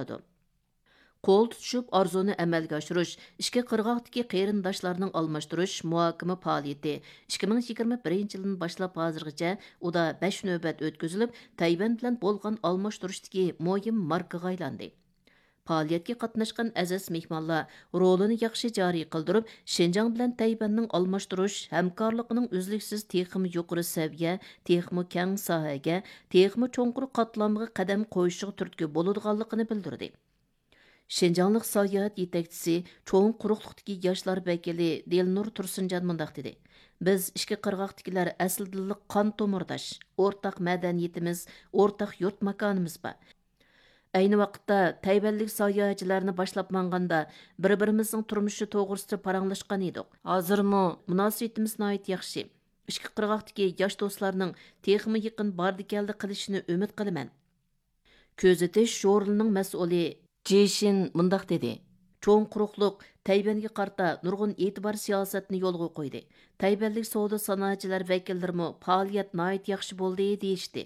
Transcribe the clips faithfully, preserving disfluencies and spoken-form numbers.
قىلىدۇ. قول تۇتۇشۇپ ئارزۇنى ئەمەلگە ئاشۇرۇش، ئىككى قىرغاقتىكى قېرىنداشلارنىڭ ئالماشتۇرۇش مۇھاكىمە پائالىيىتى ئىككى مىڭ يىگىرمە بىرىنچى يىلدىن باشلاپ ھازىرغىچە ئۇدا بەش نۆۋەت ئۆتكۈزۈلۈپ، تەيۋەن بىلەن بولغان ئالماشتۇرۇشتىكى مۇھىم ماركىغا ئايلاندى. پائالىيەتكە قاتناشقان ئەزىز مېھمانلار رولىنى ياخشى جارى قىلدۇرۇپ، شىنجاڭ بىلەن تەيۋەننىڭ ئالماشتۇرۇش ھەمكارلىقىنىڭ ئۈزلۈكسىز تېخىمۇ يۇقىرى سەۋىيە، تېخىمۇ كەڭ ساھەگە، تېخىمۇ چوڭقۇر قاتلامغا قەدەم قويۇشىغا تۈرتكە بولىدىغانلىقىنى بىلدۈردى. شىنجاڭلىق ساياھەت يېتەكچىسى، چوڭ قۇرۇقلۇقتىكى ياشلار ۋەكىلى دىلنۇر تۇرسۇنجان مۇنداق دېدى: بىز ئىككى قىرغاقتىكىلەر ئەسلىدىنلا قان تومۇرداش، ئورتاق مەدەنىيىتىمىز، ئورتاق يۇرت ماكانىمىز بار. ئەينى ۋاقىتتا تەيۋەنلىك ساياھەتچىلەرنى باشلاپ ماڭغاندا، بىر-بىرىمىزنىڭ تۇرمۇشى توغرىسىدا پاراڭلاشقان ئىدۇق. ھازىرمۇ مۇناسىۋىتىمىز ناھايىتى ياخشى. ئىككى قىرغاقتىكى ياش دوستلارنىڭ تېخىمۇ يېقىن باردى-كەلدى قىلىشىنى ئۈمىد قىلىمەن. كۆزىتىش ژۇرنىلىنىڭ مەسئۇلى جېشىن مۇنداق دېدى: چوڭ قۇرۇقلۇق تەيۋەنگە قارىتا نۇرغۇن ئېتىبار سىياسەتنى يولغا قويدى. تەيۋەنلىك سودا سانائەتچىلەر ۋەكىللىرىمۇ پائالىيەت ناھايىتى ياخشى بولدى دېيىشتى.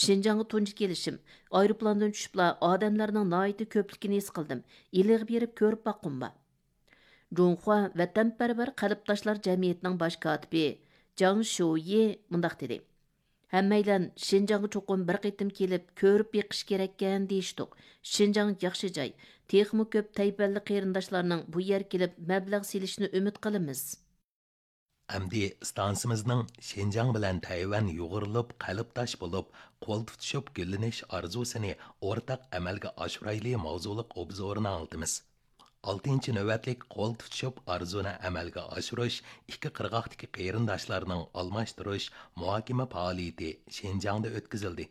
شىنجاڭغا تۇنجى كېلىشىم. ئايروپىلاندىن چۈشۈپلا ئادەملەرنىڭ ناھايىتى كۆپلۈكىنى ھېس قىلدىم. ئىلىغا بېرىپ كۆرۈپ باققۇم بار. جۇڭخۇا ۋەتەنپەرۋەر قەلبداشلار جەمئىيىتىنىڭ باش كاتىپى جاڭ شيۇيى مۇنداق دېدى: ھەممەيلەن شىنجاڭغا چوقۇم بىر قېتىم كېلىپ كۆرۈپ بېقىش كېرەككەن دېيىشتۇق. شىنجاڭ ياخشى جاي. تېخىمۇ كۆپ تەيۋەنلىك قېرىنداشلارنىڭ بۇ يەرگە كېلىپ مەبلەغ سېلىشىنى ئۈمىد قىلىمىز. ئەمدى ئىستانسىمىزنىڭ شىنجاڭ بىلەن تەيۋەن يۇغۇرۇلۇپ، قەلبداش بولۇپ، قول تۇتۇشۇپ گۈللىنىش ئارزۇسىنى ئورتاق ئەمەلگە ئاشۇرايلى ماۋزۇلۇق ئوبزورىنى ئاڭلىتىمىز. ئالتىنچى نۆۋەتلىك قول تۇتۇشۇپ ئارزۇنى ئەمەلگە ئاشۇرۇش، ئىككى قىرغاقتىكى قېرىنداشلارنىڭ ئالماشتۇرۇش، مۇھاكىمە پائالىيىتى شىنجاڭدا ئۆتكۈزۈلدى.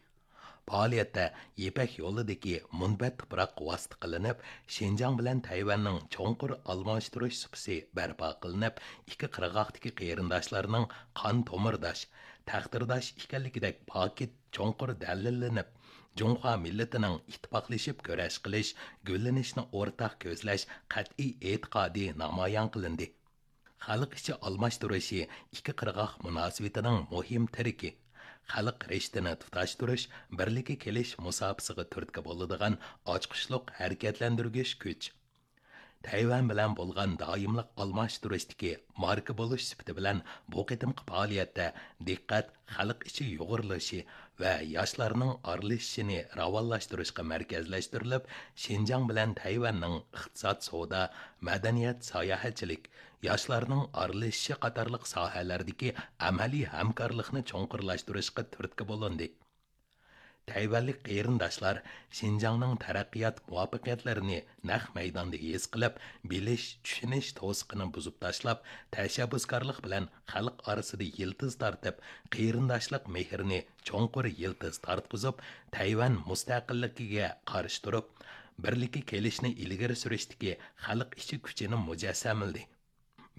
پائالىيەتتە يىپەك يولىدىكى مۇنبەت تۇپراق ۋاسىتە قىلىنىپ، شىنجاڭ بىلەن تەيۋەننىڭ چوڭقۇر ئالماشتۇرۇش سۇپىسى بەرپا قىلىنىپ، ئىككى قىرغاقتىكى قېرىنداشلارنىڭ قان تومۇرداش، تەقدىرداش ئىكەنلىكىدەك پاكىت چوڭقۇر دەلىللىنىپ، جۇڭخۇا مىللىتىنىڭ ئىتتىپاقلىشىپ كۈرەش قىلىش، گۈللىنىشنى ئورتاق كۆزلەش قەتئىي ئېتىقادى نامايان قىلىندى. خەلق ئىچى ئالماشتۇرۇشى ئىككى قىرغاق مۇناسىۋىتىنىڭ مۇھىم تىرىكى. خەلق رىشتىنى تۇتاشتۇرۇش، بىرلىككە كېلىش مۇساپىسىغا تۈرتكە بولىدىغان ئاچقۇچلۇق ھەرىكەتلەندۈرگۈچ كۈچ. تەيۋەن بىلەن بولغان دائىملىق ئالماشتۇرۇشتىكى ماركا بولۇش سۈپىتى بىلەن بۇ قېتىمقى پائالىيەتتە دىققەت خەلق ئىچى يۇغۇرۇلۇشى ۋە ياشلارنىڭ ئارىلىشىشىنى راۋانلاشتۇرۇشقا مەركەزلەشتۈرۈلۈپ، شىنجاڭ بىلەن تەيۋەننىڭ ئىقتىساد، سودا، مەدەنىيەت، ساياھەتچىلىك، ياشلارنىڭ ئارىلىشىشى قاتارلىق ساھەلەردىكى ئەمەلىي ھەمكارلىقنى چوڭقۇرلاشتۇرۇشقا تۈرتكە بولۇندى. تەيۋەنلىك قېرىنداشلار شىنجاڭنىڭ تەرەققىيات مۇۋەپپەقىيەتلىرىنى نەق مەيداندا ھېس قىلىپ، بىلىش، چۈشىنىش توسۇقىنى بۇزۇپ تاشلاپ، تەشەببۇسكارلىق بىلەن خەلق ئارىسىدا يىلتىز تارتىپ، قېرىنداشلىق مېھرىنى چوڭقۇر يىلتىز تارتقۇزۇپ، تەيۋەن مۇستەقىللىكىگە قارشى تۇرۇپ، بىرلىككە كېلىشنى ئىلگىرى سۈرۈشتىكى خەلق ئىچى كۈچىنى مۇجەسسەملىدى.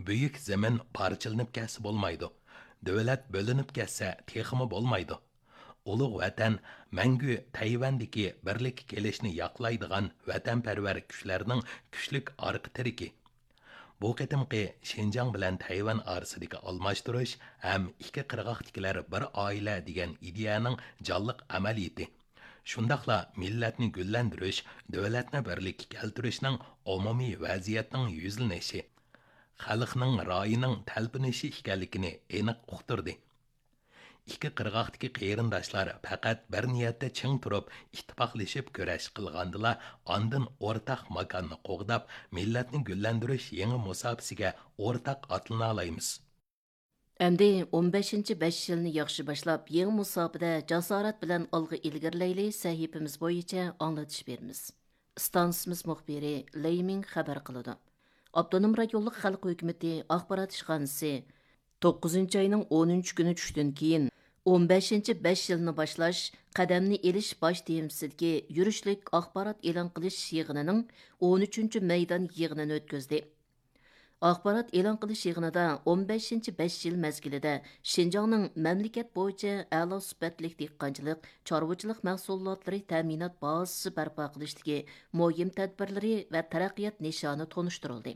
بۈيۈك زېمىن پارچىلىنىپ كەتسە بولمايدۇ، دۆلەت بۆلۈنۈپ كەتسە تېخىمۇ بولمايدۇ. ئۇلۇغ ۋەتەن مەڭگۈ تەيۋەندىكى بىرلىككە كېلىشنى ياقلايدىغان ۋەتەنپەرۋەر كۈچلەرنىڭ كۈچلۈك ئارقا تىرىكى. بۇ قېتىمقى شىنجاڭ بىلەن تەيۋەن ئارىسىدىكى ئالماشتۇرۇش ھەم ئىككى قىرغاقتىكىلەر بىر ئائىلە دېگەن ئىدىيەنىڭ جانلىق ئەمەلىيىتى، شۇنداقلا مىللەتنى گۈللەندۈرۈش، دۆلەتنى بىرلىككە كەلتۈرۈشنىڭ ئومۇمىي ۋەزىيەتنىڭ يۈزلىنىشى، خەلقنىڭ رايىنىڭ تەلپۈنۈشى ئىكەنلىكىنى ئېنىق ئۇقتۇردى. ئىككى قىرغاقتىكى قېرىنداشلار پەقەت بىر نىيەتتە چىڭ تۇرۇپ، ئىتتىپاقلىشىپ كۈرەش قىلغاندىلا، ئاندىن ئورتاق ماكاننى قوغداپ، مىللەتنى گۈللەندۈرۈش يېڭى مۇساپىسىگە ئورتاق ئاتلىنالايمىز. ئەمدى ئون بەشىنچى بەش يىلنى ياخشى باشلاپ، يېڭى مۇساپىدە جاسارەت بىلەن ئالغا ئىلگىرىلەيلى سەھىپىمىز بويىچە ئاڭلىتىش بېرىمىز. ئىستانسىمىز مۇخبىرى لېي مىڭ خەۋەر قىلىدۇ. ئاپتونوم رايونلۇق خەلق ھۆكۈمىتى ئاخبارات ئىشخانىسى توققۇزىنچى ئاينىڭ ئونىنچى كۈنى چۈشتىن كېيىن، ئون بەشىنچى بەش يىلنى باشلاش، قەدەمنى ئېلىش باش تېمىسىدىكى يۈرۈشلۈك ئاخبارات ئېلان قىلىش يىغىنىنىڭ ئون ئۈچىنچى مەيدان يىغىنىنى ئۆتكۈزدى. ئاخبارات ئېلان قىلىش يىغىنىدا ئون بەشىنچى بەش يىل مەزگىلىدە شىنجاڭنىڭ مەملىكەت بويىچە ئەلا سۈپەتلىك دېھقانچىلىق، چارۋىچىلىق مەھسۇلاتلىرى تەمىنات بازىسى بەرپا قىلىشتىكى مۇھىم تەدبىرلىرى ۋە تەرەققىيات نىشانى تونۇشتۇرۇلدى.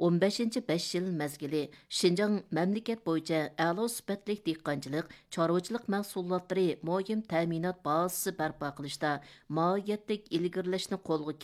ئون بەشىنچى بەش يىل مەزگىلى شىنجاڭ مەملىكەت بويىچە ئەلا سۈپەتلىك دېھقانچىلىق، چارۋىچىلىق مەھسۇلاتلىرى مۇھىم تەمىنات بازىسى بەرپا قىلىشتا ماھىيەتلىك ئىلگىرىلەشنى قولغا